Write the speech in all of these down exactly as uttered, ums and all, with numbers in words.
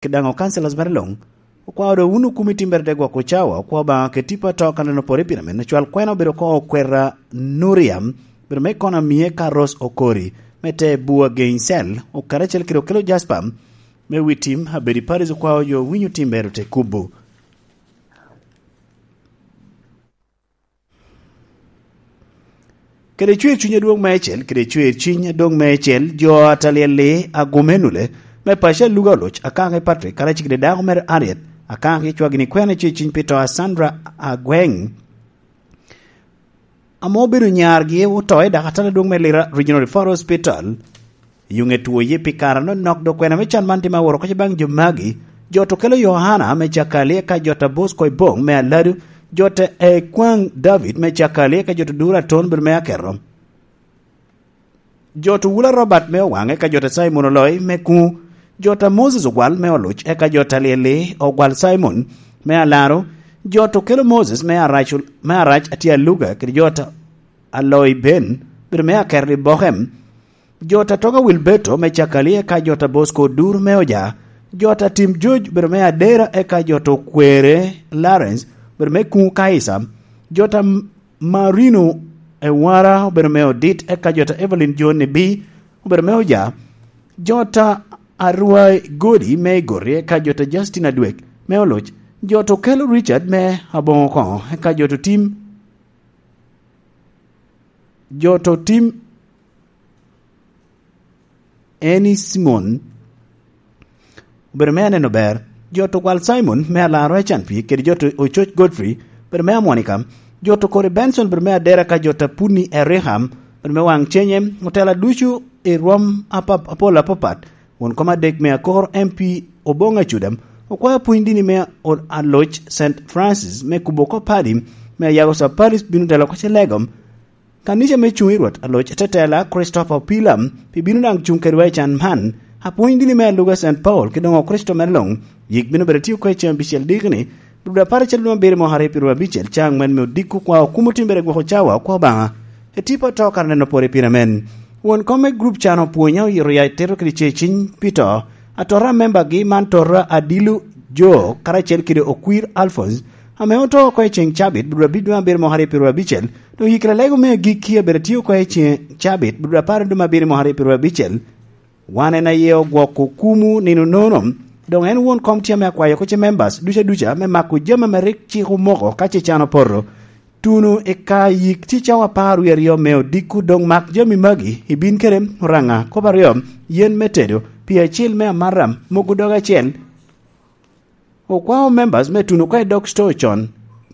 kede daŋ o councillors mere luŋ. Okwao doŋ wun okumi timbere te gwoko cawa, okwao Obaŋa kede tipo atoo kan en opore pire men, ocwal kwena obedo oko okwera Nuriam, obedo me kono amie ka Rose Okori, me te bua Gainsel, okare acel kede okelo Jasper, me wi tim, abedi Paris okwao jo winyo timbere te kubo. Kede cwer cuny adwoŋ meicel, kede cwer cuny adwoŋ meicel, jo a Talyel-li, Agumenule, me paco a Luga Oluc, Akaki Patrick, karacel kede dako mere Harriet, Akaki cwagini kwena cwer cuny pi to a Sandra Agweng, ame obedo nyargi oto i dakatala adwoŋ me Lira Regional Referral Hospital. Yuŋe two ye pi kare anonok, dok kwena me can man tye ma woro kece baŋ jo magi. Jot okelo Yohana me Cakali, eka jot a Bosco Ibong me Aladu, jot a Ekwaŋ David me Cakali, eka jot a Dura Aton bedo me Aketo. Jot Owula Robert me Owaŋ, eka jot a Simon Oloi me Kuŋu, jot a Moses Ogwal me Oluc, eka jot a Lyeli Ogwal Simon me Alaro, jot okelo Moses me Arac, me Arac atye Aluga, kede jot a Aloi Ben bedo me Aketo i Bokem. Jot a Toga Wilberto me Cakali, eka jot a Bosco Odur me Oja, jot a Tim George bedo me Adera, eka jot Okwere Lawrence bedo me Kuŋu Kaisa, jot a Marino Ewara obedo me Odit, eka jot a Evelyn John Nibi obedo me Oja, jot a Arwai Godi me Igori, eka jot a Justin Adwek me Oluc, jot okelo Richard me Aboŋo Koŋo, eka jot otim, jot otim Eni Simon, obedo me Aneno Ber, jot Ogwal Simon me Alaro Ecan Pii, kede jot Ococ Godfrey, obedo me Amwonika, jot Okori Benson, obedo me Adera, ka jot Apuni Eriham, obedo me Waŋ Cenye, otela ducu i rwom apap-, apol apapat, won kom adek me Akor M P Oboŋ Acudam, okwayo pwony dini me o-, aloc Saint Francis me kubo oko padi, me Ayago Saparis bino telo oko Celegom, Kanica me Cuŋ i Rwot Aloc Tetela Christopher Opila pi bino daŋ cuŋ kedwa i can man. Apwony dini me aluga Saint Paul ki doŋ Okricito mere luŋ, yik bino bedo tye oko i ceŋ abicel dikini, dwe apar acel dwe abiro mwaka aryo pyeraryo abicel, caŋ aŋwen me odiko kwa okumo timbere gwoko cawa okwa Obaŋa. Etipo ato kara neno pore pire men. Won kom me group can opwonyo oyito ya tito kede ce ciny pi to. Atora a membagi man tota Adilu Jo karacel kede Okwir Alphonse, ame oto oko i ceŋ cabit, dwe abiro mwaka aryo pyeraryo abicel, Doŋ yikere lego me agikki abedo atye oko i ceŋ cabit, dwe apar dwe me abiro mwaka aryo pyeraryo abicel. Wan en aye ogwoko kumu nino nono. Doŋ en won kom tye ame akwayo oko ce members duca duca me mako jami ame rik cik omoko ka ce can opoto. Tuno i ka yik ci cawa apar wie aryo me odiko, doŋ mak jami magi, ibin kede oraŋa, kop aryo, yen me tedo, pii acil me amaram, mogo doge acel, Okwao members me tuno oko i dog store con.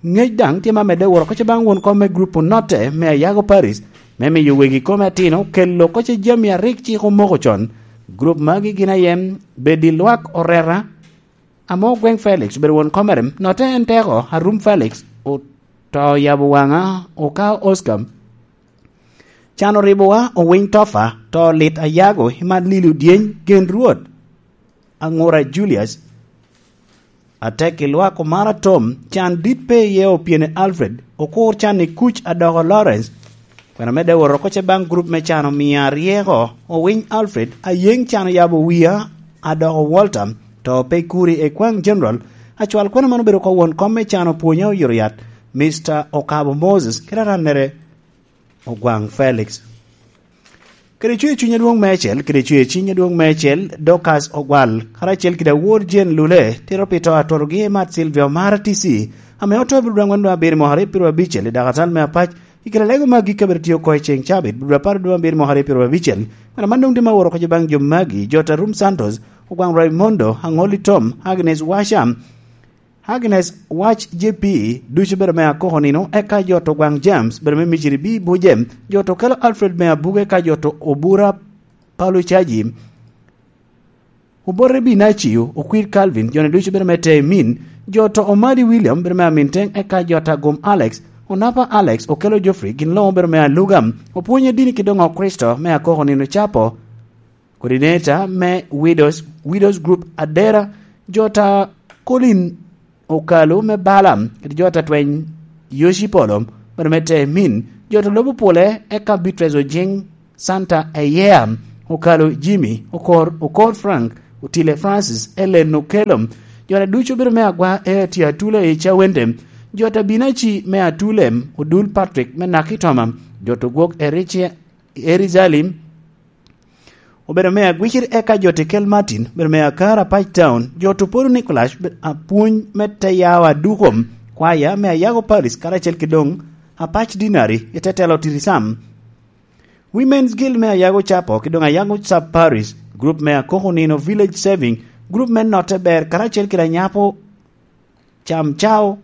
Ngec daŋ tye ma medde woro oko ce baŋ won kom me grup onotte me Ayago Paris, me miyo wegi kome atino kelo oko ce jami a rik cik omoko con. Grup magi gin aye Bedi Lwak Oreta, ame Ogweng Felix obedo won kom mere, notte en teko Arum Felix, oto yabo waŋa, okao Oscar. Can oribowa, Owiny Tofa, to lit Ayago, Iman Lili Odyeny, Gen Rwot, Aŋura Julius, Atek i Lwak Omara Tom, can dit pe iye Opyene Alfred, Okur can i Kuc Adoko Lawrence, kwena medde woro oko ce baŋ grup me can omia ryeko, Owiny Alfred, Ayeŋ can oyabo wia, Adoko Walter, to pe kuri i kwaŋ General, acwal kwena man obedo oko won kom me can opwonya oyito yat, Mister Okabo Moses, kede arannere Ogwaŋ Felix. Kede cwer cuny adwoŋ meicel, kede cwer cuny adwoŋ meicel, Dorcas Ogwal, karacel kede awor Jane Lule, tito pi to atorogi i Mat Silvia Omara T C, ame oto i dwe aŋwen dwe abiro mwaka aryo pyeraryo abicel i dakatal me Apac, i kede lego me agikki abiro tye oko i ceŋ cabit, dwe apar dwe abiro mwaka aryo pyeraryo abicel. Kwena man doŋ tye ma woro oko ce baŋ jo magi, Jota Rum Santos, Ogwaŋ Raimondo, Aŋoli Tom, Agnes Washam, Agnes Wac J P, ducu bedo me akoko nino, eka jo to Gwaŋ James, bedo me Miciri B. Buje, jo to kelo Alfred me Abuge, eka jo to Obura Paulo Caji, Obote Binacio, Okwir Calvin, jo-ni ducu bedo me Temin, jo to Omadi William, bedo me Aminteŋ, eka jo to Agum Alex, Onapa Alex, Okelo Geoffrey, gin luŋo bedo me Aluga, Opwonye Dini ki doŋo Kricito me akoko nino capo, Coordinator me Widows, Widows Group Adera, jo ta Colin Okalo me Balaam, kede jo ta Tweny Yoshi Polo, bene me Temin, jo ta Lobo Pole, eka Beatrice Ojing, Santa Eyea, Okalo Jimmy, Okor, Okor Frank, Otile Francis, Ellen Okello, jo-ta ducu obedo me agwa, Eti Atule i Cawende, jo-ta Binaci me Atule, Odul Patrick me Nakitoma, jo-ta Ogwok Eric-, Erizali, obedo me Agwicir, eka jo-ta Kel Martin, obedo me Akar Apac Town, jo-ta Oporo Nicholas, obedo apwony me Teyawa Duko, kwaya me Ayago Paris, karacel ki doŋ Apac Dinari, i te telo Tirisam. Women's Guild me Ayago Capo, ki doŋ Ayago Sub Parish, group me Akoko Nino Village Saving, group me Notte Ber, karacel kede Anyapo Cam Cao,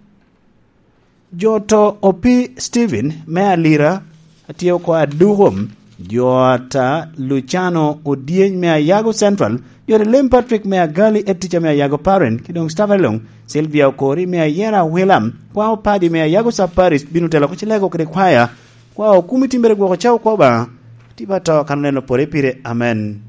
jo-ta Opi Stephen me Alira, atye oko Aduko, jo-ta Luciano Odyeny me Ayago Central, jo-ta Lem Patrick me Agali, Eticha me Ayago Paren, ki doŋ Stephen Long, Sylvia Okori me Ayera Wilam, kwa opadi me Ayago Sub Parish, bino telo oko Cilego kede kwaya, kwa okumi timbere gwoko cawo kwa Obaŋa, tiba to kan oneno pore pire. Amen.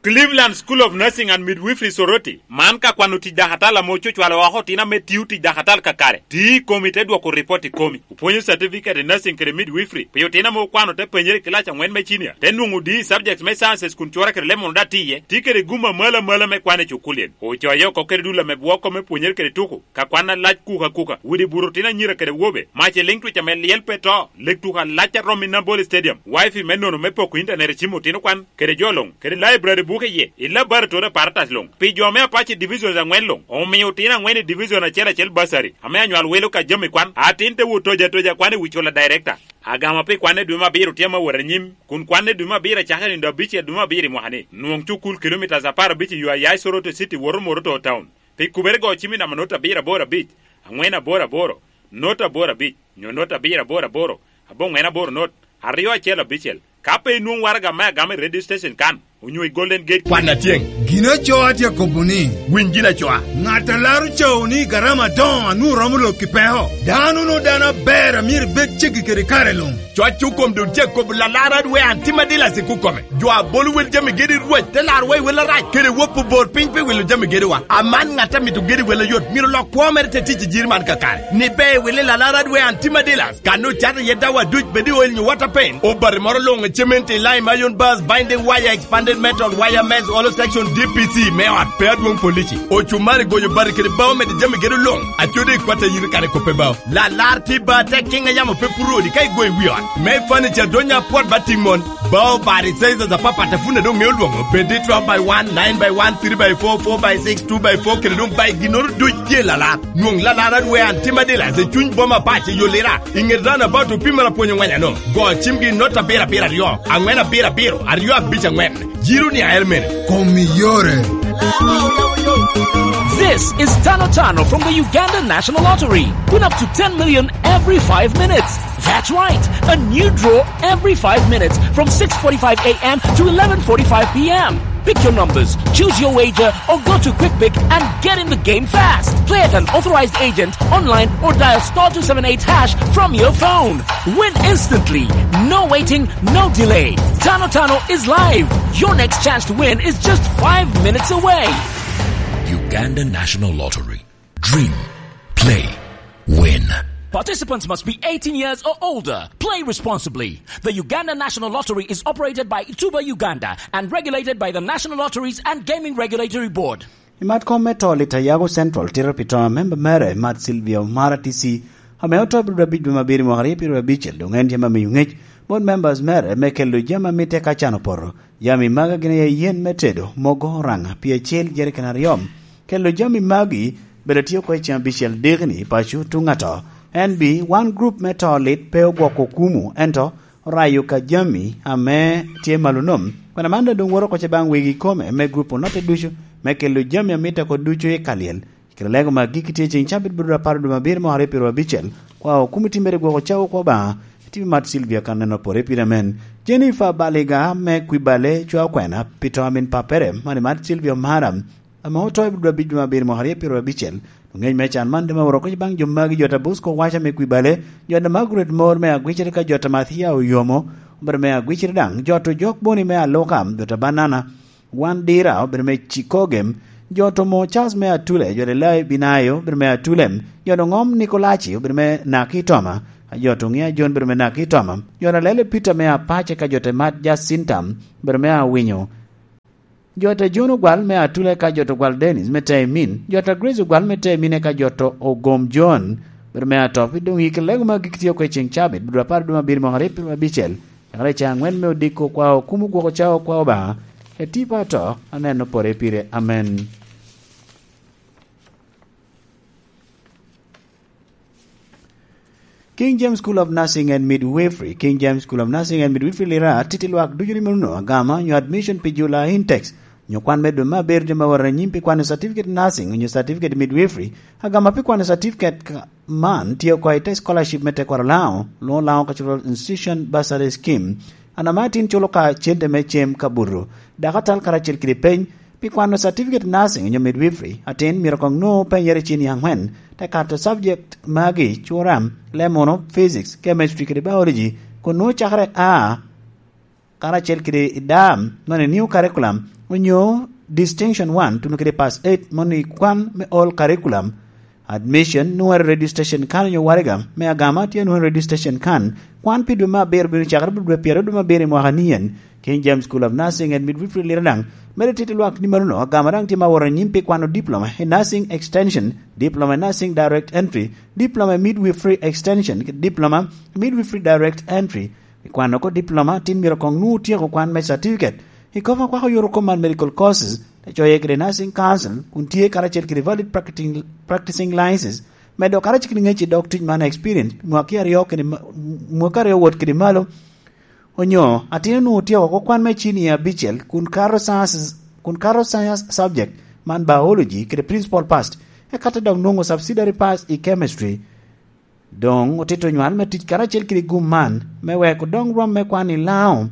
Cleveland School of Nursing and Midwifery Soroti, man ka kwano tic dakatal ame ococwalo oko otino ame tio tic dakatal kakare. Ti i komi te dwoko ripot i komi. Opwonyo certificate i nursing kede midwifery pi otino ame okwano te penyere i kilac aŋwen me cinia, te nwoŋo D E subjects me sciences kun cura kede lemon daŋ tye iye. Ti kede gum amalo amalo me kwan i cukulin. Ocoye oko kede dul ame bwoko me pwonyere kede tuko, ka kwan alac kuka kuka, widi buto otino anyira kede wobe, mac i liŋ twic ame lyel pe to, lek tuko alac a rom i Nambole Stadium, wifi me nono me poko intanet i cim otino kwan, kede jo luŋ, kede library buke iye, i laboratory apparatus luŋ. Pi jo me Apache Divisions aŋwen luŋ, omio otino aŋwen i division acel acel bursary, ame anywal welo ka jami kwan, atin te wot toja toja kwan i wi cula director. Agama pi kwan i dwe me abiro tye ame wot anyim, kun kwan i dwe me abiro acakere nino abicel dwe me abiro i mwaka ni. Nwoŋ cukul kilomitas apar abic i yo a ya i Soroti City woto Moroto Town. Pi kubere go cim i namba not abiro aboro abic, aŋwen aboro aboro, not aboro abic, nyo not abiro aboro aboro, aboŋwen aboro not, aryo acel abicel. Ka pe inwoŋ waraga me agama i radio station kan, onyo i Golden Gate. Kwan atyeŋ. Gin acoo atye akobo ni, winy gin acoa. Ŋat a laro cawo ni garama adoŋo a nwoŋo romo lok i peko. Dano onwoŋo dano aber a myero ibed ceggi kede kare luŋ. Cwac okom doŋ tye akobo lalar adwe an tim adilac i kukome. Jo a bolo wel jami gedi Rwot te laro wa i wel arac, kede wop obor piny pi wilo jami gedewa. Aman ŋat a mito gedi wel ayot, myero lok kwo mere te tic i jiri man kakare. Ni ber wili lalar adwe an tim adilac. Kan ocato iye dawa duc bed i oil nyo water paint, obati moro luŋ i cement i lime, iron bars, binding wire, expanded metal, wire mesh, hollow section, D P C me ot pe adwoŋ polici. Ocumari goyo bati kede bao medo jami gedo luŋ. Acodi i kwat a yito kare kope bao. Lalar tye ba tek kiŋ a yamo pe puro odi ka igoyo i wi ot. Me furniture donya apwot ba tiŋ mon. Bao bati sizes apapat a pwod doŋ ŋeo lwoŋo. Bed i twelve by one, nine by one, three by four, four by six, two by four, kede doŋ bai ginnoro duc tye lalar. Nwoŋ lalar adwe an tim adilac i cuny boma pac i Yolira, i ŋet roundabout opimere apwony oŋweny ano. Go cimgi i not abiro abiro aryo, aŋwen abiro abiro, aryo abic aŋwen. Jiro ni aer mene. Kom iyore. This is Tano Tano from the Uganda National Lottery. Win up to ten million every five minutes. That's right, a new draw every five minutes from six forty-five a m to eleven forty-five p m. Pick your numbers, choose your wager, or go to Quick Pick and get in the game fast. Play at an authorized agent, online, or dial star two seven eight hash from your phone. Win instantly. No waiting, no delay. Tano Tano is live. Your next chance to win is just five minutes away. Uganda National Lottery. Dream, play, win. Participants must be eighteen years or older. Play responsibly. The Uganda National Lottery is operated by Tuba Uganda and regulated by the National Lotteries and Gaming Regulatory Board. I mat kom me to, Lita Yago Central tito pi to a memba mere, Mat Sylvia Omara T C, ame oto i dwe abic dwe me abiro mwaka aryo pyedo abicel, dong en tye ame miyo ŋec bot members mere me kelo jami a mitte ka can opoto. Jami magi gin aye yen me tedo mogo oraŋa pi acel jerican aryo. Kelo jami magi bene tye oko i ceng abicel diki-ni i paco tuŋ ato. En bi, wan grup me to lit pe ogwoko kumu, ento orayo ka jami ame tye malo nom. Kwena man doŋ woto oko ce baŋ wegi ikome me grup onotte ducu me kelo jami a mitte oko ducu i ka lyel. Kede lego ma agikki tye ceŋ cabit bot dwe apar dwe me abiro mwaka aryo pyedo abicel, kwa okum itimmere gwoko cawo kwo Obaŋa, itibi mat Sylvia kan neno pore pire amen. Jennifer Baliga me Kwibale cwa okwena pi to a min pappere, mani mat Sylvia Omara, ame oto i dwe abic dwe me abiro mwaka aryo pyedo abicel. Oŋec me can man dema oroko baŋ jo magi, jo ta Bosco Wacha me Kwibale, jo ta Margaret Mor me Agwicere ka jo ta Mathia Oyomo, obedo me Agwicere daŋ, jo ta Ojok Boni me Aluka, jo ta Banana, Wan Dira obedo me Cikogem, jo ta Omo Charles me Atule, jo ta Lai Binayo obedo me Atule, jo ta Oŋom Nikolaci obedo me Nakitoma, A jo to ŋe a Jon bedo me Naki Toma. Jo a Lele Peter me Apace ka jo te Mat Jacinta bedo me Awinyo. Jo te Jon ogwal me Atule ka jo to gwal Dennis me Temin. Jo te Grace ogwal me Temin ka jo to Ogom Jon bedo me Atopi. Doŋ i lego ma gik tye oko i ceŋ cabit, bedo apar duma abiri mwaka aryo abicel. Cakere ca angwen me odiko kwa okumo gwoko ca okwa Obaŋa. Eti pa to, aneno pore pire. Amen. King James School of Nursing and Midwifery, King James School of Nursing and Midwifery Lira, titi lwak ducu ni meruno, agama, nyo admission pi jula Intex, nyo kwan me dwe me aber dwe me woro anyim pi kwano certificate nursing, nyo certificate midwifery, agama pi kwano certificate ka-, man, tye oko i te scholarship me tekwaro Lango, Luŋo Lango Cultural Institution Bursary Scheme, an ame atin culo ka cente me cem kabuto, dakatal karacel kede peny, Pi kwano certificate nursing onyo midwifery, atin myero koŋ nwoŋo penyere i cini aŋwen, te kato subject magi, cura, lemono, physics, chemistry kede biology, kun nwoŋo cakere A, karacel kede i dam, moni new curriculum, onyo distinction one, tuno kede pass eight, moni kwan me all curriculum. Admission, nwoŋo i radio station kan onyo waraga me agama tye nwoŋo i radio station kan. Kwan pi dwe me abiro bino cakere dwe pyeraryo dwe me abiro i mwaka ni en. King James School of Nursing and Midwifery Lira daŋ medo tito lwak ni mano agama daŋ tye ma woro anyim pi kwano diploma i Nursing Extension, diploma i Nursing Direct Entry, diploma i Midwifery Extension, diploma i Midwifery Direct Entry. I kwano oko diploma, tin myero koŋ nwoŋo otyeko kwan me certificate. I kop akwako yot oko man medical courses, te coye kede Nursing Council, kun tye karacel kede valid practicing, practicing license, medo karacel kede ŋec i dog tic man experience, mwaki aryo kede ma-, mwaki aryo wot kede malo, onyo atin onwoŋo otyeko oko kwan me cini abicel, kun kato sciences, kun kato science subject man biology kede principal pass, eka te dok nwoŋo subsidiary pass i chemistry. Doŋ otito nywal me tic karacel kede gum man, me wek odoŋ rwom me kwan i Lango.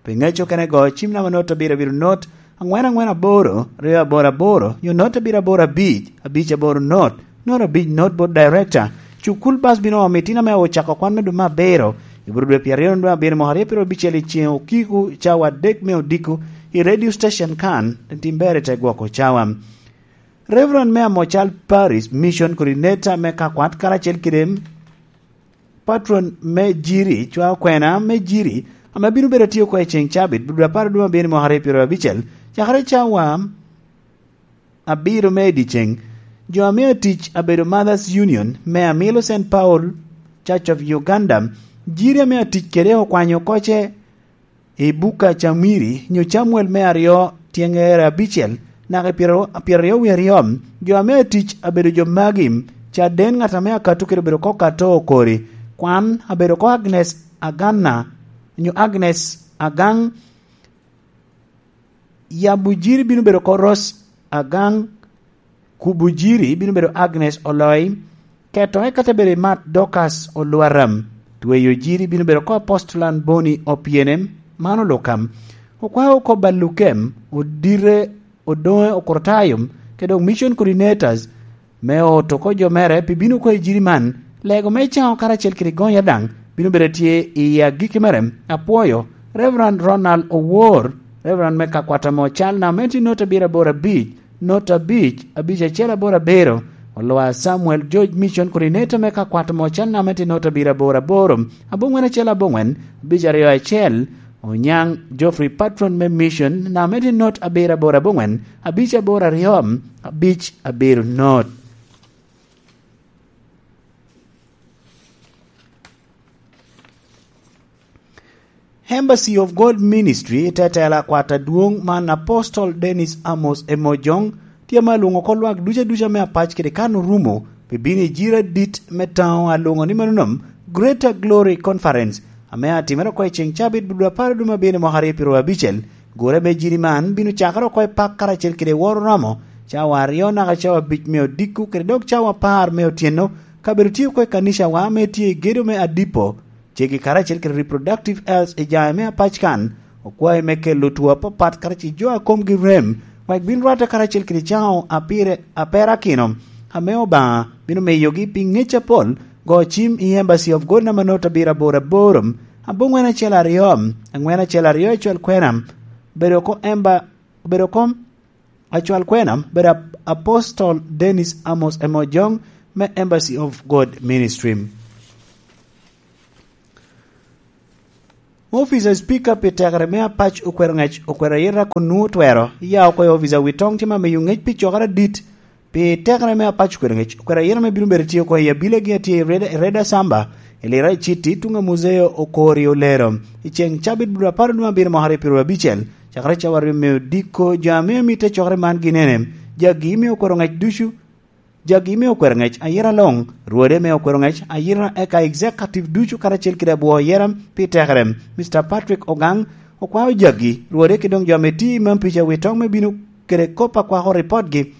Pi ŋec okene go, cim namba not abiro abiro not, aŋwen aŋwen aboro, ryo aboro aboro, nyo not abiro aboro abic, abic aboro not, not abic not bot director. Cukul bas bino omi tin ame ocako kwan me dwe me abiro, i bur dwe pyeraryo dwe abiro mwaka aryo pyeraryo abicel i ceŋ okiko cawa adek me odiko i radio station kan, tim ber i te gwoko cawa. Reverend me Amocal Parish Mission Coordinator me Kakwat karacel kede patron me Jiri, cwa okwena me Jiri, ame bino bedo tye oko i ceŋ cabit, dwe apar dwe abiro mwaka aryo pyeraryo abicel, cakere cawa abiro me i dyeceŋ. Jo ame atic abedo Mothers Union me Amilo Saint Paul Church of Uganda, Jiri ame atic kede okwanyo koce i Buka Camiri, nyo Camuel me aryo, tyeŋere abicel, naka i pyero, pyeraryo wie aryo, jo ame atic abedo jo magi, caden ŋat ame akato kede obedo ko kato okori, kwan abedo ko Agnes Aganna, nyo Agnes Agaŋ, yabo Jiri bino bedo ko Ros Agaŋ, Kubo Jiri bino bedo Agnes Oloi, keto eka te bedo i mat Dorcas Olwaram, tweyo Jiri bino bedo ko Apostolan Boni Opienem, man olukam. Okwao oko Balukem, Odire, Odoŋe Okurtayom, kede dok mission coordinators, me oto oko jo mere pi bino oko i Jiri man, lego me caŋo karacel kede gonya daŋ bino bedo tye i agikki mere. Apwoyo Reverend Ronald Owor, Reverend me Kakwata Mocal, namba me tye not abiro aboro abic, not abic, abic acel aboro abiro. Olwa Samuel George, Mission Coordinator me Kakwat Mocal, namba me tye not abiro aboro aboro, aboŋwen acel aboŋwen, abic aryo acel. Onyaŋ Geoffrey, Patron me Mission, namba me tye not abiro aboro aboŋwen, abic aboro aryo, abic abiro not. Embassy of God Ministry, tetela kwat adwoŋ man Apostle Dennis Amos Emojong, tye ma alwoŋo oko lwak duca duca me apac kede kan orumo, pi bino i jira dit me taŋo alwoŋo ni mano nom Greater Glory Conference, ame atimere oko i ceŋ cabit dwe apar dwe me abiro mwaka aryo pyeraryo abicel. Gure me jiri man bino cakere oko i pak karacel kede woro romo, cawa aryo naka cawa abic me odiko kede dok cawa apar me otyeno, kabedo tye oko i kanicawa ame tye i gedo me Adipo, ceggi karacel kede Reproductive Health i jaŋe me apac kan, okwae me kelo two apapat karacel jo a komgi rem, wek bin rwatte karacel kede caŋo apire, aperakino, ame Obaŋa bino miyogi pi ŋec apol. Go cim i Embassy of God namba not abiro aboro aboro, aboŋwen acel aryo, aŋwen acel aryo i cwal kwena, bedo oko emba, bedo kom Acwal kwena, bedo ap-, Apostle Dennis Amos Emojong me Embassy of God Ministry. Ofica Speaker pi tekere me apac okwero ngec okwero ayeta kun nwoŋo twero ya oko i ofica wi toŋ tye ma miyo ngec pi cokere adit. Pi tekere me apac okwero ngec okwero ayeta me bino bedo tye oko i abilegi a tye i Reda, i Reda Samba, i Lira i Citi, tuŋ a Muzeo Okori Olero. I ceŋ cabit bulu apar dwe abiro mwaka aryo pyero abicel, cakere cawa aryo me odiko jo ame omitte cokere man gin ene, jagi me okwero ngec ducu, jagi me okwero ngec ayera loŋ, rwode me okwero ngec ayera eka executive ducu karacel kede abwo ayera pi tekere. Mister Patrick Ogang okwao jagi, rwode ki doŋ jo ame tye i mam pica wi toŋ me bino kede kop akwako ripotgi,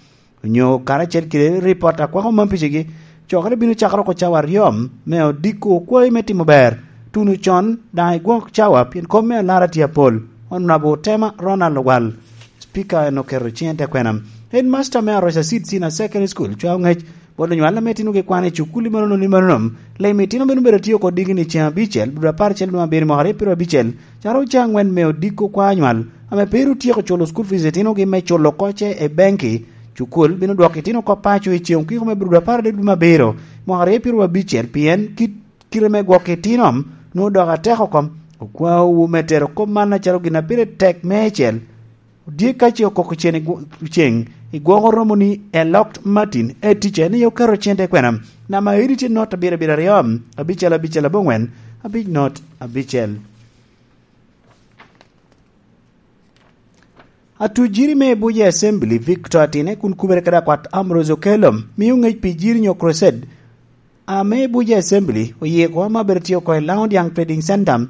onyo karacel kede ripot akwako mam picigi, cokere bino cakere oko cawa aryo me odiko okwayi me timo ber, tuno con daŋ igwok cawa pien kop me alara tye apol. Honorable Tema Ronald Ogwal, Speaker en oketo ciŋe te kwena. Headmaster me Aroca Seed Senior Secondary School cwao ngec bot onywal ame tinogi kwan i cukul i manono ni manono. Lemi tino bino bedo tye oko digini ceŋ abicel, bulu apar cel dwe abiro mwaka aryo pyero abicel, caro ca angwen me odiko kwa anywal, ame pe ru tyeko culo school fees itinogi me culo koce i benki. Cukul bino dwoko itino oko paco i ceŋ okiko me bulu apar adek dwe abiro, mwaka aryo pyero abicel, pien kit kite me gwok itino nwoŋo dok atek oko. Okwaowu me tero kop man acalo gin a pire tek meicel. Odye ka ce okoko cen i gwo-, ceŋ, i gwoko romo ni elok Martin, e ticce ni oketo cente kwena. Namba edi tye not abiro abiro aryo, abicel abicel abongwen, abic not abicel. Atu jiri me Abuja Assembly, Victor Atine, kun kubere kede akwat Ambrose Okello, mio ngec pi jiri nyo crusade, ame Abuja Assembly oye oko ame abedo tye oko i Laŋo Diaŋ Trading Center,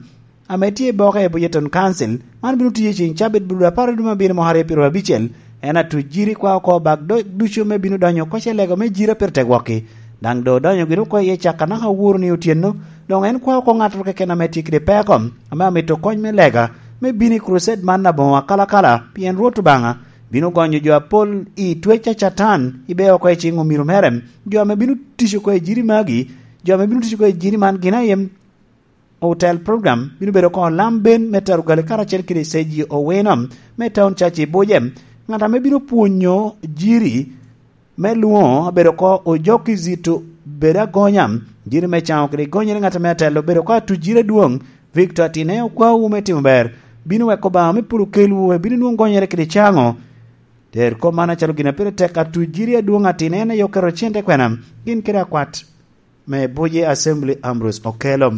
ame tye i boke i Abuja Town Council. Man bino tiyo i ceŋ cabit bulu apar i dwe me abiro mwaka aryo pyero abicel. En atu jiri kwa oko bak do-, ducu me bino donyo oko ce lego me jiri a pire tek wokki. Daŋ do odonyo gin oko iye cak anaka aworo ni otyeno. Doŋ en kwa oko ŋattoro keken ame tye kede peko, ame amito kony me lega, me bino i crusade man aboŋo akalakala, pien Rwot Obaŋa bino gonyo jo apol i twec a Catan, ibe oko i ciŋ omiro mere. Jo ame bino tic oko i jiri magi, jo ame bino tic oko i jiri man gin aye Hotel Program bino bedo oko Lam Ben me Tarugali karacel kede Seji Owino me Town Church i Buje. Ŋat ame bino pwonyo jiri me lwoŋo abedo oko Ojoki Zito Bedo Agonya, jiri me caŋo kede gonyere ŋat ame atelo obedo oko atu jiri adwoŋ, Victor Atine okwawu me timo ber, bino weko Obaŋa me polo kelwu, ebino nwoŋo gonyere kede caŋo. Ter kop man acalo gin a pire tek atu jiri adwoŋ Atine en aye oketo cente kwena, gin kede akwat me Buje Assembly Ambrose Okello.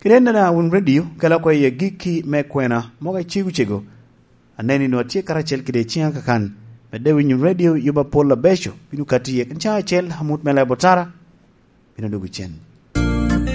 Kede en dana wun radio, kela oko iye gikki me kwena, mogo icego cego. Aneno ni nwa tye karacel kede ciŋa kakan, medde winyo radio yuba pol abeco, bino kati iye kin cawa acel, amut me lebo tara, bino dwogo cen.